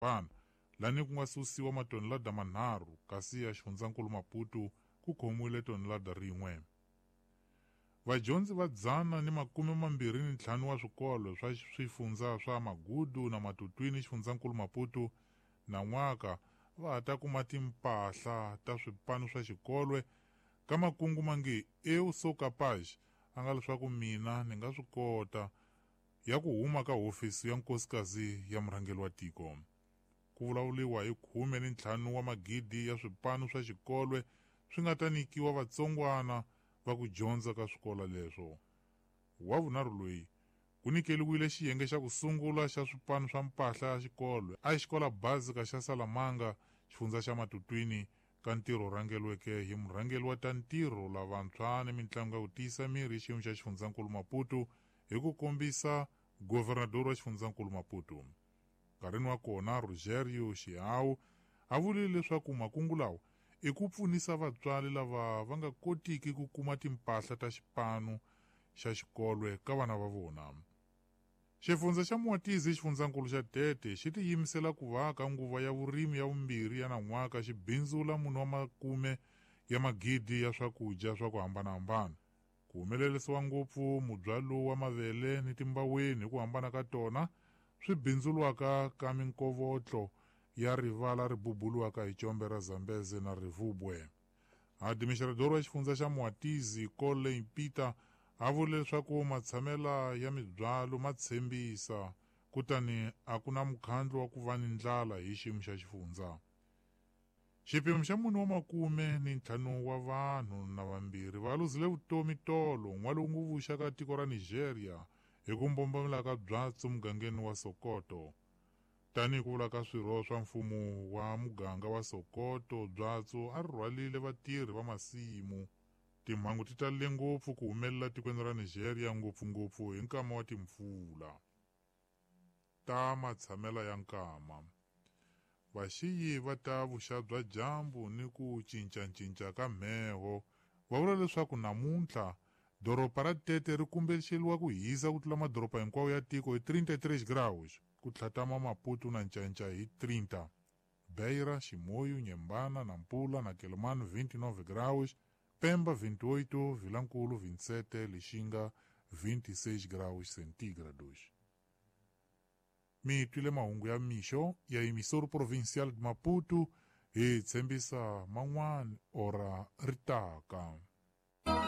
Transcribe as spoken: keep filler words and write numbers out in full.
hambana-hambana lani ku nga susiwa matonelada manharhu kasi ya xifundzankulu Maputo ku khomiwile tonelada rin'we. Vadyondzi va dzana ni makume mambirhi ni ntlhanu wa swikolo swa swifundza swa Magudu na Matutwini xifundzankulu Maputo nan'waka va ha ta kuma timpahla ta swipanu swa xikolwe ka makungu mange eu sou capaz, a nga leswaku mina ni nga swi kota, ya ku huma ka hofisi ya nkosikazi ya murhangeri wa tiko. Ku vulavuriwa hi khume ni ntlhanu wa magidi ya swipanu swa xikolwe swi nga ta nyikiwa vatsongwana va ku dyondza ka swikolo leswo. Wa vunharhu loyi ku nyikeriwile xiyenge xa ku sungula xa swipanu swa mpahla ya xikolo a xikola básica xa Salamanga xifundza xa Matutwini ka ntirho rhangeriweke hi murhangeri wa ta ntirho lavantshwa ni mitlangu ya ku tiyisa miri xiyimo xa xifundzankulu Maputo hi ku kombisa governador wa xifundzankulu Maputo. Nkarhini wa kona Rogério Xiau a vurile leswaku makungu lawa i ku pfunisa vatswari lava va nga kotiki ku kuma timpahla ta xipanu xa xikolwe ka vana va vona. Xifundza xa Mwatizi xifundzankulu xa Tete xi tiyimisela ku va ka nguva ya vurimi ya vumbirhi ya nan'waka xi bindzula munhu wa makume ya magidi ya swakudya swa ku hambanahambana. Ku humelerisiwa ngopfu mubyalo wa mavele ni timbaweni hi ku hambana ka tona swi bindzuriwaka ka minkovotlo ya rivala ri bubuliwaka hi combe ra Zambeze na Rivubwe. Administrador wa xifundza xa Mwatizi Colin Peter a vule leswaku matshamela ya mibyalo ma tshembisa kutani a ku na mukhandlu wa ku va ni ndlala hi xiyimo xa xifundza. Xipimo xa mune wa makume ni ntlhanu wa vanhu na vambirhi va luzile vutomi tolo n'walungu vuxa ka tiko ra Nigeria hi ku mbombomela ka byatso mugangeni wa Sokoto. Tanihi ku vula ka swirho swa mfumo wa muganga wa Sokoto, byatso a ri rhwalile vatirhi va masimu. Timhangu ti talele ngopfu ku humelela tikweni ra Nigeria ngopfungopfu hi nkama wa timpfula. Ta matshamela ya nkama. Vaxiyi va ta vuxa bya dyambu ni ku cincacinca ka mheho va vula leswaku namuntlha doroba ra Tete ri kumbexeriwa ku hisa ku tlula madoroba hinkwawo ya tiko hi trinta e três graus, ku tlhatama Maputo na Ncancai hi trinta. Beira, Chimoio, Inhambane, Nampula na Quelimane vinte e nove graus, Pemba vinte e oito, Vilankulo vinte e sete, Lixinga vinte e seis graus centígrados. Mi twile mahungu ya mixo ya emissora provincial de Maputo hi tshembisa man'wana ora ri taka.